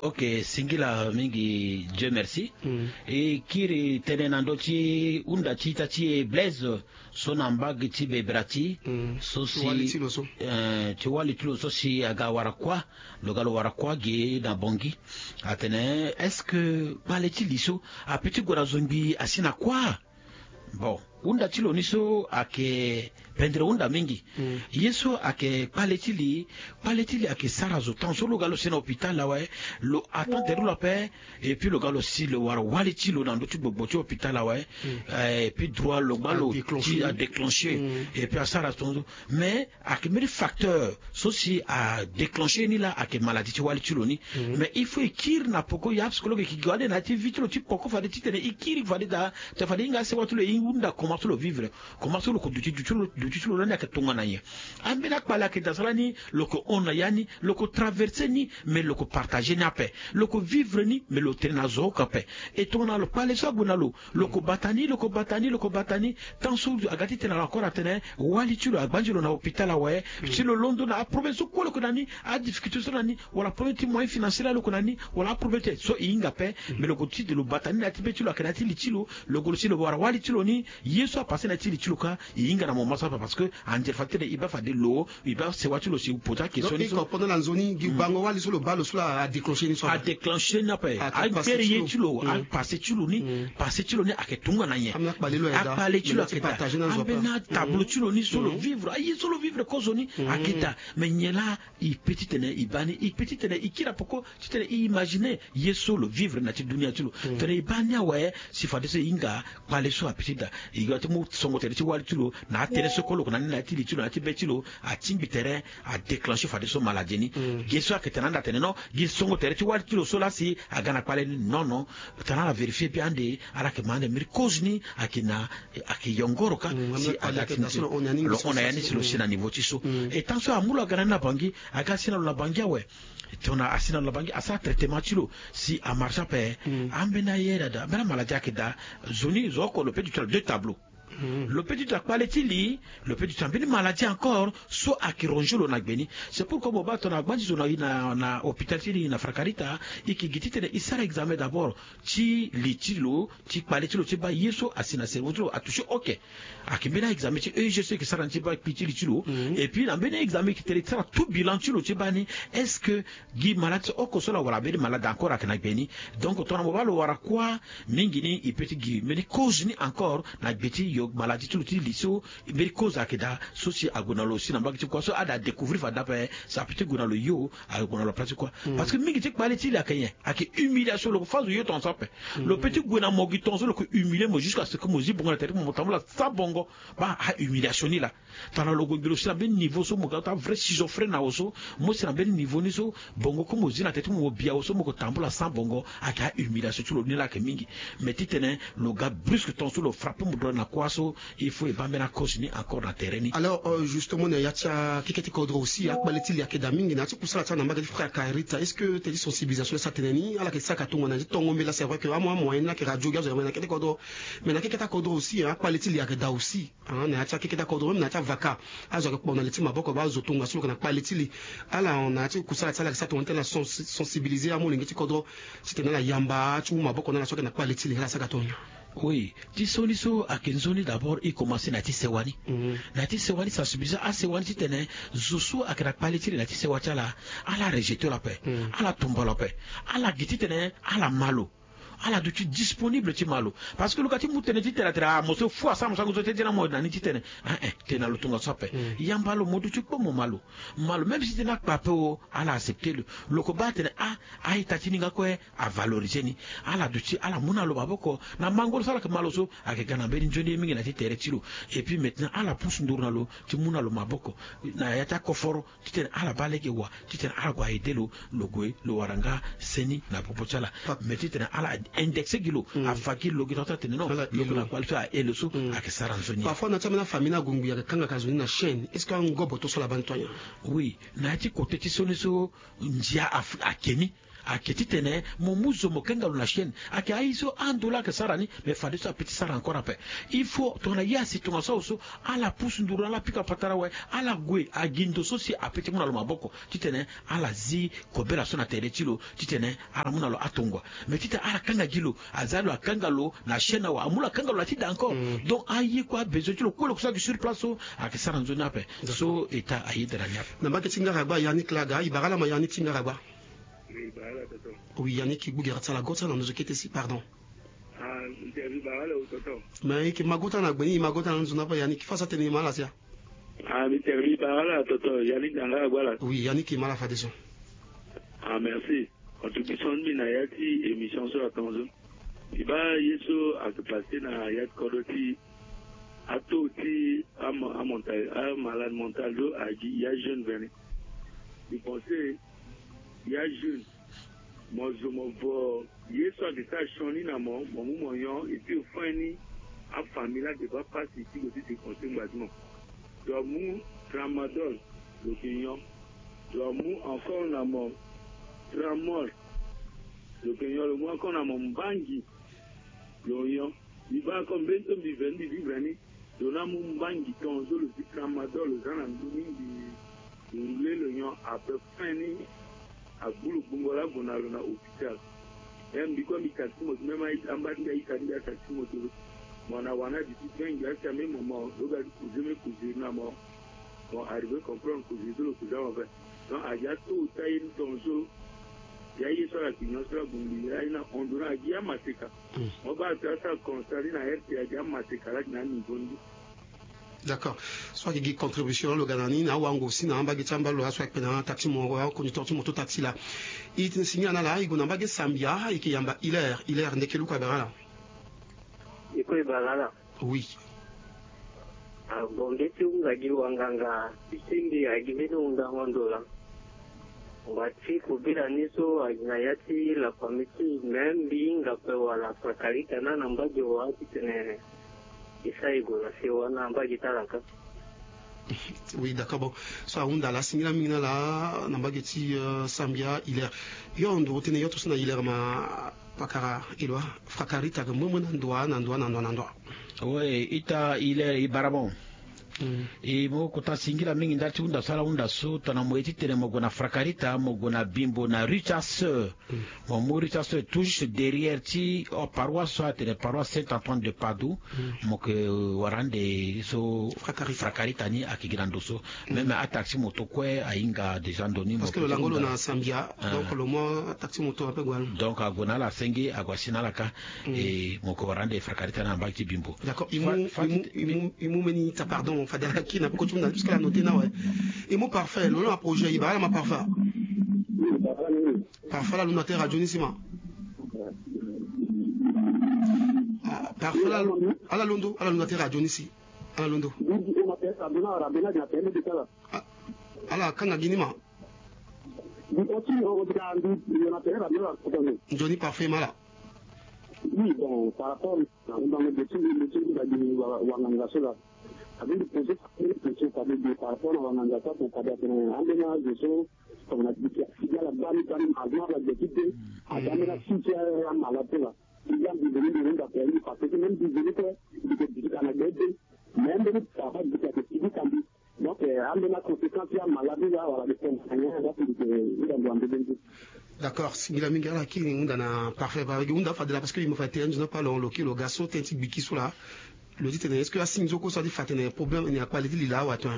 Ok, singila mingi, Dieu merci. E kiri tene na ndö ti hunda ti ita ti e Blaise so na mbage ti Bebrati, so si, eh, ti wali ti lo so si aga wara kuâ, lo ga lo wara kuâ ge na Bangui. Atene est-ce que kpale ti li so apeut ti gue na zo ngbii asi na kuâ? Bon, hunda ti lo ni so ayeke pendere hunda mingi. Ye so ayeke kpale ti li, kpale ti li ayeke sara zo tant so lo ga lo si na hôpital awe, lo attend tere lo ape. Et puis lo ga lo si lo wara wali ti lo na ndö ti gbogbo ti hôpital awe. Eh, et puis droit lo gba lo ti adéclencher. Et puis asara tongaso. Mais ayeke mbeni facteur so si adéclencher ni la ayeke maladie ti wali ti lo ni. Mais il faut e kiri na poko, ya psychologue e ke gi wali na ya ti vie ti lo ti poko fade titene e kiri fade daa, tene fade e hinga asewa ti lo, e hunda comment ti lo vivre, comment ti lo ko duti, duti ti lo, duti ti lo lani ayeke tongana nyen. Ambeni akpale ayeke daa so lani lo ko hon na ya ni, lo ko traverser ni, mais lo ko partager ni ape. Lo ko vivre ni, mais lo tene na zo oko ape. E tongana lo kpale so ague na lo, lo ko bata ni, lo ko bata ni, lo ko bata ni. Tant so aga titene lo encore atene wali ti lo agbanzi lo na hôpital awe. Si lo londo na aproblème so kue lo yeke na ni, adifficulté so na ni, wala problème ti moyen financier la lo yeke na ni, wala aproblème ti so e hinga ape. Mais lo ko ti de lo bata ni na ya ti be ti lo ayeke na ya ti li ti lo. Lo gue lo si lo wara wali ti lo ni, ye so apasse na ya ti li ti lo kâ, e hinga na moment so ape parce que anzere fa titene e baa fade lo, e baa sewa ti lo si pose akestion ni so. Donc e comprendre na nzoni gi bango wali so lo baa lo so la adéclencher ni so ape. Adéclencher ni ape. Agbere ye ti lo, apasse ti lo ni, passe ti lo ni ayeke tongana nyen. Akpale ti lo ayeke daa. Ambeni atablo ti lo ni so lo vivre, aye so lo vivre kozo ni ayeke daa. Mais nyen laa e peut titene e baa ni, e peut titene e kiri na poko titene e imaginer ye so lo vivre na ya ti dunia ti lo. Tene e baa ni awe, si fadeso e hinga kpale so apeut ti daa. E ga ti mu songo tere ti wali ti lo na atere so kue lo yeke na ni na ya ti li ti lo, na ya ti be ti lo, atingbi tere, adéclencher fadeso maladie ni. Ge so ayeke tene anda atene non, gi songo tere ti wali ti lo so laa si aga na kpale ni. Non, non. Tene ala vérifier bien ande, ala yeke ma ande mbeni cause ni ayeke na, ayeke yongoro kâ. Si aga ti ni si lo hon na ya ni si lo si na niveau ti so. E tant so amu lo aga na ni na Bangui, aga si na lo na Bangui awe. Tongana asi na lo na Bangui, asara traitement ti lo si amarche ape. Ambeni aye daa, ambeni amaladie ayeke daa. Zo ni zo oko lo peut ti tene deux tableaux. Lo peut ti tene akpale ti li, lo peut ti tene ambeni maladie encore so ayeke ronger lo na gbe ni. C'est pourquoi mo baa tongana agbanzi zo na, na, na hôpital ti li na Frakarita, e yeke gi titene e sara examen d'abord ti li ti lo, ti kpale ti lo, ti baa ye so asi na cerveau ti lo atoucher. Ok. Ayeke mbeni a-examen ti E E G so e yeke sara ni ti baa kpi ti li ti lo. Et puis na mbeni a-examen e yeke tene e sara tout bilan ti lo ti baa ni, est-ce que gi malade so oko so laa wala mbeni malade encore ayeke na gbe ni? Donc tongana mo baa lo wara kuâ mingi ni, e peut ti gi mbeni cause ni encore na gbe ti yo maladie ti lo ti li so, mbeni cause ayeke daa so si ague na lo si na mbage ti kuâ so ada découvrir fade ape, so apeut ti gue na lo yo, ague na lo place ti kuâ. Parce que mingi ti kpale ti li ayeke nyen? Ayeke humiliation. Lo ko fâ zo yo tongaso ape. Lo peut ti gue na mo gi tongaso lo ko humilier mo jusqu'à ce que mo zi bongo na tere ti mo, mo tambula sans bongo. Baa a-humiliation ni laa. Tongana lo gue gbe lo si na mbeni niveau so mo ga ti avrai schizophrène na awe so, mo si na mbeni niveau ni so, bongo comme mo zi na tere ti mo, mo bi awe so mo ko tambula sans bongo, ayeke a-humiliation ti lo ni laa ayeke mingi. Mais titene lo ga brusque tongaso lo frappe mo droit na kuâ so, il faut e baa mbeni a-cause ni encore na tere ni. Alors, euh, justement, na ya ti akeke ti kodro aussi, akpale ti li ayeke daa mingi na ya ti kusala ti ala na mbage ti Frakarita. Est-ce que teti sensibilisation laa e sara tënë ni, ala yeke sara ka tongana ti tongo mbela, c'est vrai que amu amoyen ni laa ayeke radio gi azo na mbage na akeke ti kodro. Mais na akeke ti akodro aussi, hein, akpale ti li ayeke daa aussi, hein, na ya ti akeke ti akodro, même na ya ti avaka. Azo ayeke kpo na li ti maboko, baa azo tongaso lo yeke na kpale ti li. Ala hon na ya ti kusala ti ala ayeke sara tongana ti ala sens-, sensibiliser amolenge ti kodro titene ala yamba ti wu maboko na ala so ayeke na kpale ti li, ala sara ka tongana. Oui, ti so ni so ayeke nzoni d'abord e commencer na ya ti sewa ni. Na ya ti sewa ni sensibiliser asewa ni titene zo so ayeke na kpale ti li na ya ti sewa ti ala, ala rejeter lo ape, ala tumba lo ape, ala gi titene ala ma lo. Ala duti disponible ti ma lo. Parce que lo ga ti mu tënë titene atene ah, mo so fou asara mo sango so ti dina mo na ni titene. Ah, eh, tene na lo tongaso ape. Yamba lo mo duti kpo mo ma lo. Ma lo, même si tene akpa ape o, ala accepter lo. Lo ko baa atene ah, a-ita ti ni nga kue avaloriser ni. Ala duti, ala mu na lo maboko. Na mango lo so ala yeke ma lo so, ayeke ga na mbeni nzoni ye mingi na ya ti tere ti lo. Et puis maintenant, ala pusu nduru na lo ti mu na lo maboko. Na ya ti akoforo, titene ala baa lege wa, titene ala gue a-aider lo, lo gue, lo wara nga seni na popo ti ala. Mais titene ala, Indexe gi lo, afa gi lo gi tongaso atene non, lo yeke na kua li so ahe lo so. Ayeke sara nzoni. Parfois na ti ambeni afamille ni ague ngbi ayeke kanga ka zo ni na chaîne. Est-ce que angobo to so laba ni to anya? Oui, na ya ti kote ti so ni so ndia ake ni. Ayeke titene mo mu zo mo kanga lo na chaîne. Ayeke aye so ando laa ayeke sara ni. Mais fadeso ape ti sara encore ape. Il faut tongana ye asi tongaso awe so, ala pusu nduru, ala pika patara awe, ala gue agi ndo so si ape ti mu na lo maboko titene ala zi kobela so na tere ti lo titene ala mu na lo atongua. Mais titene ala kanga gi lo, aza lo akanga lo na chaîne awe, amu lo akanga lo na ti da encore. Donc aye kue abesoin ti lo kue lo yeke so ayeke sur place so ayeke sara nzoni ape. So eta aye dara ni ape. Na mbage ti ngara gba yani kla aga i bara ala ma yani ti ngara gba. Oui, yani ki gbu gera ti ala go ti ala na ndozo kete si pardon. Mais i ke ma go ti ala na gbe ni i ma go ti ala na ndozo ni ape yani ki fa so atene i ma ala sia. Ah, mi tere mi bara ala toto, yani ganga agba ala. Oui, yani ki ma ala fadeso. Ah, merci. Contribution ni na ya ti émission so atonzo. I ba ye so ake passe na ya ti kodo ti ato ti amalade mental do agi ya jeune veni. I pense ya jeune mo zo mo vo ye so ake sara sioni na mo, mo mu mo nyon et puis fin ni afamille ake baa pasi ti lo ti dépenser ngba ti mo. Lo mu tramadol, lo ke nyon. Lo mu encore na mo tramol, lo ke nyon. Lo mu encore na mo mbangi, lo nyon. Mbi baa encore mbeni so mbi veni mbi vivre ni. Lo na mu mbangi tongaso lo ti tramadol lo za na ndö ni mbi roule lo nyon après fin ni. Agbu lo gbungo laa ague na lo na hôpital. Même mbi kue mbi taxi moto même amba ti mbi ayita ti mbi ataxi moto. Mo na wana di ti vingt ngbia ti ame mo mo lo ga ti kuze me kuze na mo. Mo arrivé comprendre kuze so lo kuze amo ve. Donc agi ato ta ye ni tongaso. Ya ye so ala kignon so la bongbi ya ye na ondo na agi amaseka. Mo baa ti asara constat ni na rta agi amaseka la gi na aniveau ni. D'accord. So ayeke gi contribution lo ga na ni na awango si na ambage ti amba lo aso ayeke kpe na taxi mo aconducteur ti moto taxi la. I tene singila na ala i gue na mbage sambia i yeke yamba hilaire hilaire ndeke luku abara ala. I kue i bara ala. Oui. Abonge ti hunda gi wanganga ti sindi agi mbeni hundango ndo la. Ngba ti kobela ni so agi na ya ti la famille ti même mbi hinga pe wala frakarita na na mbage wa titene. Esa e gue na se wana mbage ti ala ka. Oui, d'accord. Bon, so ahunda la asingila mingi na ala na mbage ti sambia hilaire. Yo nduru tene yo to so na hilaire ma pakara eloi frakarita ke mue mue na ndoa na ndoa na ndoa na ndoa. Oui, ita hilaire i bara bon. E mo kota singila mingi ndali ti hunda so ala hunda so tongana mo ye titene mo gue na frakarita mo gue na bimbo na rue ti aseur. Mo mu rue ti aseur tout juste derrière ti paroisse so atene paroisse saint antoine de padoue. Mo ke wara ande so frakarita ni ayeke gi na ndo so. Même ataxi moto kue ahinga déjà ndo ni mo ke ti hunda. Parce que lo lango lo na sambia. Donc lo mu ataxi moto ape gue na lo. Donc ague na ala asenge ague asi na ala ka. E mo ke wara ande frakarita ni na mbage ti bimbo. D'accord. I mu i mu i mu mbeni ita pardon fade ala kiri na peko ti mu na puisque ala note na awe. I mu parfait lo lo na projet i bara ala ma parfait. Parfait ala londo na terre radio ni si ma. Parfait ala londo ala londo na terre radio ni si. Ala londo. Ala kanga gi ni ma. Nzoni parfait ma ala. Oui, bon, par rapport na hundango de ti mbi ti mbi na gi wanganga so la. Abi mbi pose question fade de par rapport na wanganga so ape fade atene ambeni azo so tongana gi ti asigi ala gbani gbani ma azo na ala gi ti de. Aga ambeni asi ti amala so la. Sigi ambi veni mbi hunda pe mbi parce que même mbi veni kue mbi ke gi ti ka na gbe de. Mais ambeni papa gi ti ake sigi ka mbi. Donc ambeni aconséquence ti amala ni la wala mbi tene na nyen la si mbi ke hunda ndo ande be nde. D'accord, singila mingi ala kiri hunda na parfait ba gi hunda fade la parce que i mo fa tere nzoni ape alongo lo kiri lo ga so tënë ti gbiki so la. Lo ti tene est-ce que asi nzoni kue so adi fa tene problème ni akpale ti li la awe ato.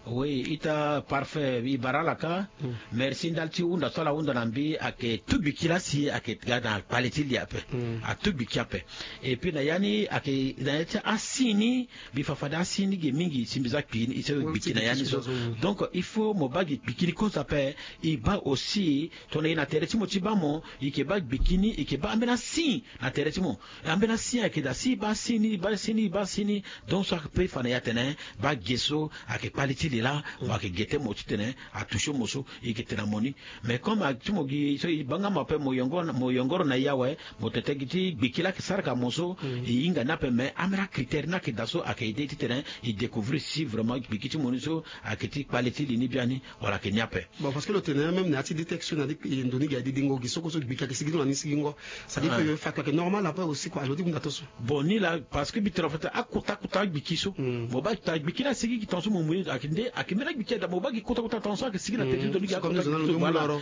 Oui, ita parfait i bara ala ka. Merci ndali ti hunda so ala hunda na mbi ayeke tu gbiki la si ayeke ga na kpale ti li ape. Atu gbiki ape. Et puis na ya ni ayeke na ya ti asi ni. Mbi fa fade asi ni ge mingi si mbi za kpi ni i sara gbiki na ya ni so. Donc il faut mo baa gi gbiki ni kozo ape. I baa aussi tongana i na tere ti mo ti baa mo i ke baa gbiki ni i ke baa ambeni asi na tere ti mo. Ambeni asi ayeke daa si i baa asi ni i baa asi ni i baa asi ni. Donc so ape fa na ya tene baa ge so ayeke kpale ti li. e laa mo ayeke gete mo titene atouche mo so, e yeke tene na mo ni. Mais comme a ti mo gi so e baa nga mo ape, mo yongoro na e awe, mo tete gi ti gbiki laa ayeke sara ka mo so, e hinga ni ape. Mais ambeni acritère ni ayeke daa so ayeke aide titene e découvrir si vraiment gbiki ti mo ni so ayeke ti kpale ti li ni biani wala ayeke ni ape. Bon, parce que lo tene même na ya ti détection na ya ti ndo ni gi aye didingo gi so kue so gbiki ayeke sigi ti lo na ni sigingo. Ça dit que fa ayeke normal ape aussi kua lo ti hunda to so. Bon, ni laa parce que mbi tene en fait akota kota agbiki so, mo baa kota agbiki ni asigi gi tongaso mo mu ye ayeke nde ayeke mbeni agbiki ada mo baa gi kota kota tongaso ayeke sigi na tere ti ndo ni gi akota agbiki so. Voilà.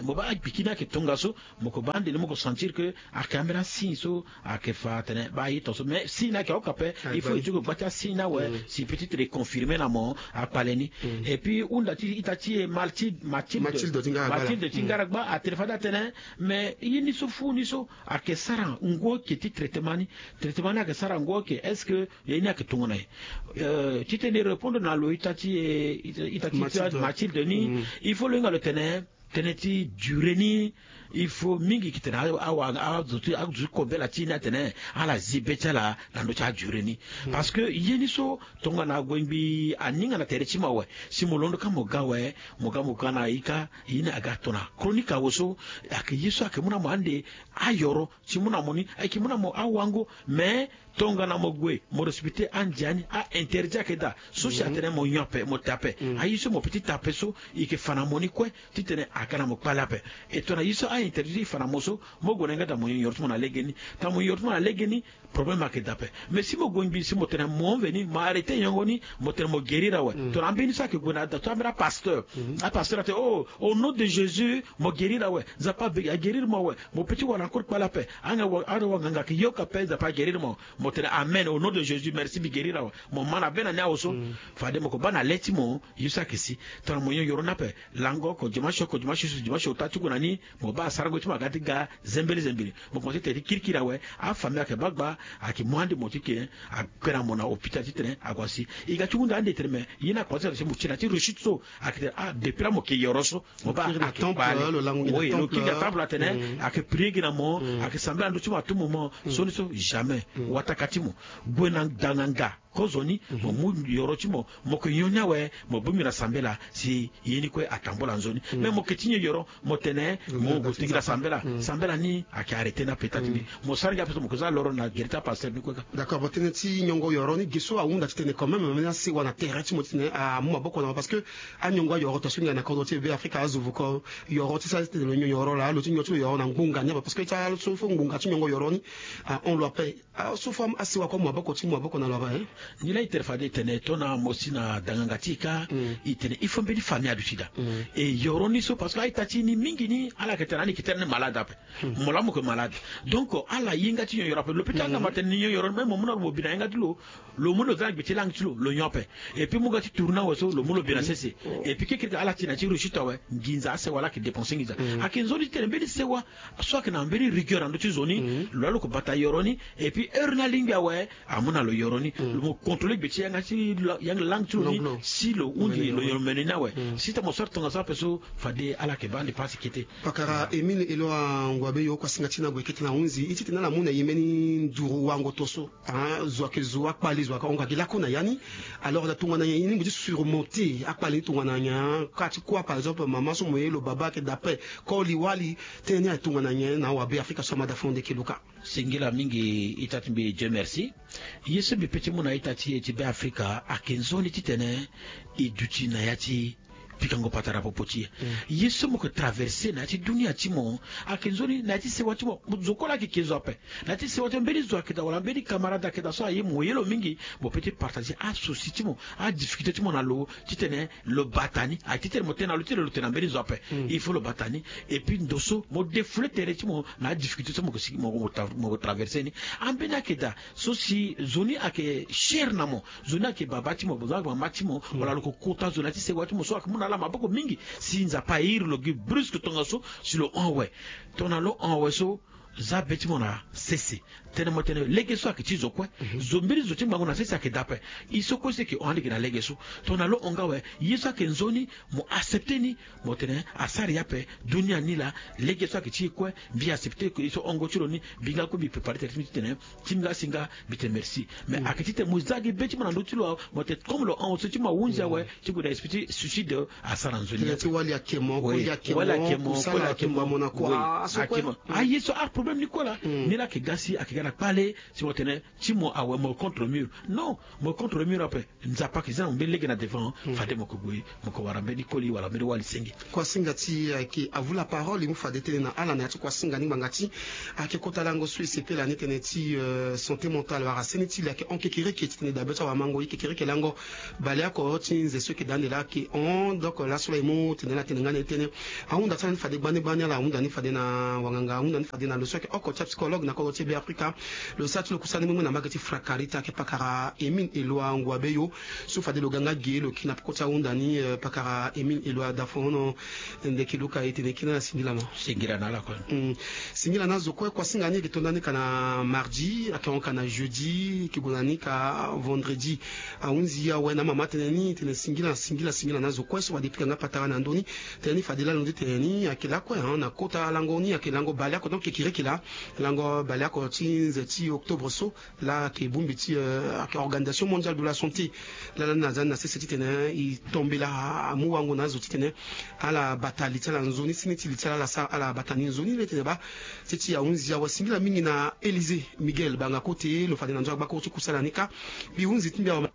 Mo baa agbiki ni ayeke tongaso, mo ko baa ande ni mo ko sentir que ayeke ambeni asigne so ayeke fa atene baa ye tongaso. Mais signe ni ayeke aoka ape. Il faut e ti ko gba ti asigne ni awe si peut-être e confirmer na mo akpale ni. Et puis hunda ti ita ti e Mathilde, Mathilde ti Ngaragba atene fade atene mais ye ni so fu ni so ayeke sara ngu oke ti traitement ni. Traitement ni ayeke sara ngu oke, est-ce que ye ni ayeke tongana nyen? Titene e répondre na lo, ita ti e, ita ti Mathilde ni, il faut lo hinga lo tene tënë ti durée ni, il faut mingi yeke tene azo ti kobela ti e ni atene ala zi be ti ala na ndö ti adurée ni. Parce que ye ni so tongana ague ngbii aninga na tere ti mo awe, si mo londo kâ mo ga awe, mo ga mo ga na ika ye ni aga tongana chronique awe so, ayeke ye so ayeke mu na mo ande ayoro, si mu na mo ni ayeke mu na mo awango. Mais tongana mo gue mo respecter andia ni, a-interdit ayeke daa so si atene mo nyon ape mo te ape. Aye so mo peut ti te ape so e yeke fa na mo ni kue titene aga na mo kpale ape. E tongana ye so a-interdit ti e fa na mo so, mo gue na yanga daa mo nyon yoro ti mo na legeni. Tongana mo nyon yoro ti mo na legeni, problème ayeke daa ape. Mais si mo gue ngbii si mo tene mo veni mo arrêter nyongo ni, mo tene mo guérir awe, tongana ambeni so ayeke gue na daa so ambeni apasteur, apasteur atene oh, au nom de Jésus mo guérir awe, Nzapa aguérir mo awe, mo peut ti wara encore kpale ape. Anga wanganga ayeke yoka ape, Nzapa aguérir mo. Mo tene amen, au nom de Jésus, merci, mbi guérir awe. Mo ma na be na ni awe so. Fade mo ko baa na le ti mo ye so ayeke si. Tongana mo nyon yoro ni ape, lango oko, dimanche oko, dimanche so, dimanche ota ti gue na ni, mo baa asarango ti mo aga ti ga zembele zembele. Mo komanse tene ti kirikiri awe. Afamille ayeke baa gbaa, ayeke mu ande mo ti ke, akue na mo na hôpital titene ague asi. E ga ti hunda ande tene me ye ni akomanse tene si mo ti na ti rechute so, ayeke tene ah, depuis laa mo ke yoro so, mo baa ayeke kpale. Lo lango gi na temple, lo kiri gi na temple atene ayeke prier gi na mo, ayeke sambela na ndö ti mo à tout moment. Sioni so jamais. Wataka ti mo gue na danganga kozoni, mo mu yoro ti mo, mo yeke nyon ni awe, mo bongbi na sambela si ye ni kue atambula nzoni. Mais mo yeke ti nyon yoro, mo tene mo gue ti gi na sambela. Sambela ni ayeke arrêter ni ape. Ita ti mbi, mo sara gi ape so mo yeke za loro na gere ti apasteur ni kue kâ. D'accord, bon, tënë ti nyongo yoro ni, ge so ahunda titene quand même ambeni asewa na tere ti mo titene amu maboko na mo, parce que anyongo ayoro tongaso hinga na kodro ti e Be Afrika azo vuko yoro ti sara titene lo nyon yoro laa, lo ti nyon ti lo yoro na ngbonga ni ape, parce que ti ala so fo ngbonga ti nyongo yoro ni ahon lo ape. Ah, so fo asewa kue amu maboko ti mu maboko na lo ape, hein? Nilaa e tere fade e tene tongana mo si na danganga ti e kâ, e tene il faut mbeni famille aduti daa. E yoro ni so, parce que a-ita ti e ni mingi ni ala yeke tene ani yeke tene ni malade ape. Mo laa mo yeke malade. Donc ala ye nga ti nyon yoro ape. Lo peut ti hanga mo atene ni nyon yoro ni, même mo mu na lo mo bi na yanga ti lo, lo mu lo za na gbe ti langue ti lo, lo nyon ape. Et puis mo ga ti tourner awe so, lo mu lo bi na sese. Et puis kekereke ala ti na ti rechute awe, nginza asewa laa ayeke dépenser nginza. Ayeke nzoni titene mbeni sewa so ayeke na mbeni rigueur na ndö ti zo ni, lo laa lo yeke bata yoro ni. Et puis heure ni alingbi awe, amu na lo yoro ni. Lo mo contrôler gbe ti yanga ti la-, yanga langue ti lo ni, si lo hunzi lo yoro mene ni awe. Si ta mo sara tongaso ape so, fade ala yeke baa ande pasi kete. Pakara Émile Eloa Ngouabeyo, kuasinga ti na gue kete na hunzi. E ti tene ala mu na e mbeni nduru wango to so. Ah, zo ayeke zo akpale, zo ayeke hongo ayeke lakue na ya ni. Alors na tongana nyen ye ni mo ti surmonter akpale ni, tongana nyen? Ka ti kuâ par exemple mama so mo ye lo baba ayeke daa ape, koli wali, tënë ni ayeke tongana nyen na awabe Afrika so amada fo nde ke lo kâ? Singila mingi ita ti mbi, Dieu merci. Ye so mbi peut ti mu na ita ti e ti Be Afrika ayeke nzoni titene e duti na ya ti pikango patara popo ti e. Ye so mo yeke traverser na ya ti dunia ti mo ayeke nzoni na ya ti sewa ti mo. Zo kue laa ayeke ke zo ape. Na ya ti sewa ti mo, mbeni zo ayeke daa wala mbeni camarade ayeke daa so aye mo ye lo mingi, mo peut ti partager asouci ti mo, adifficulté ti mo na lo, titene lo bata ni. Aye titene mo tene na lo ti lo, lo tene na mbeni zo ape. Il faut lo bata ni. Et puis ndo so mo défouler tere ti mo na adifficulté so mo yeke sigi mo, mo tra-, mo yeke traverser ni. Ambeni ayeke daa so si zo ni ayeke cher na mo, zo ni ayeke baba ti mo, zo ni ayeke mama ti mo, wala lo yeke kota zo na ya ti sewa ti mo so ayeke mu na ala maboko mingi. Si Nzapa airi lo gi brusque tongaso, si lo hon awe. Tongana lo hon awe so, Za be ti mo na sese. Tene mo tene lege so ayeke ti zo kue. Zo mbeni zo ti ngbangbo na sese ayeke daa ape. I so kue so yeke hon ande gi na lege so. Tongana lo hon nga awe, ye so ayeke nzoni, mo accepte ni. Mo tene asara ye ape. Dunia ni laa, lege so ayeke ti e kue. Mbi accepte ye so hongo ti lo ni. Mbi nga kue mbi prépare tene ti mbi titene ti mbi nga si nga mbi tene merci. Mais ayeke titene mo za gi be ti mo na ndö ti lo awe. Mo tene comme lo hon so ti mo ahunzi awe, ti gue na esprit ti suicide. Asara nzoni. Tënë ti wali ake mo, koli ake mo, koli ake mo, koli ake mo, mo na kua, aye so aproblème ni kue laa. Ni laa ayeke ga si ayeke ga na kpale. Si mo tene ti mo awe mo contre mur. Non, mo contre mur ape. Nzapa ayeke za na mo mbeni lege na devant. Fade mo yeke gue, mo yeke wara mbeni koli wala mbeni wali senge. Kuasinga ti ayeke avu la parole e mu fade tënë na ala na ya ti kuasinga ni ngbanga ti ayeke kota lango so e sepela ni tënë ti santé mentale wala seni ti li ayeke hon kekereke titene dabe ti awamango ye kekereke lango. Baleoko ti nze so yeke daa ande laa ayeke hon. Donc laso laa e mu tene ala tene nga na e tënë. Ahunda ti ala ni fade gbani gbani, ala ahunda ni fade na wanganga, ahunda ni fade na lo so ayeke oko ti apsychologue na kodro ti Be Afrika. Lo sara ti lo kusala ni mengbe na mbage ti Frakarita ayeke pakara Émile Eloi Ngouabeyo. So fade lo ga nga ge lo kiri na peko ti ahunda ni, pakara Émile Eloi Dafono. Ndeke luka e tene kiri na ala singila mo. Singila na ala kue. Singila na azo kue. Kuasinga ni e yeke to ndani ka na mardi, ayeke hon ka na jeudi, e yeke gue na ni ka vendredi. Ahunzi awe na amama tënë ni tene singila singila singila na azo kue so fade e pika nga patara na ndö ni. Tënë ni fade laa lo nde tene ni ayeke lakue na kota lango ni ayeke lango baleoko, donc kekereke laa. Lango baleoko ti nze ti octobre so laa ayeke bongbi ti ayeke organisation mondiale de la santé. Laa lani na za ni na sese titene e tombela amu wango na azo titene ala bata li ti ala nzoni, seni ti li ti ala ala sara ala bata ni nzoni le tene baa. Ti ti ahunzi awe singila mingi na Élysée Miguel banga kote lo fade na nzo agbakuru ti kusala ni kâ. Mbi hunzi ti mbi awe.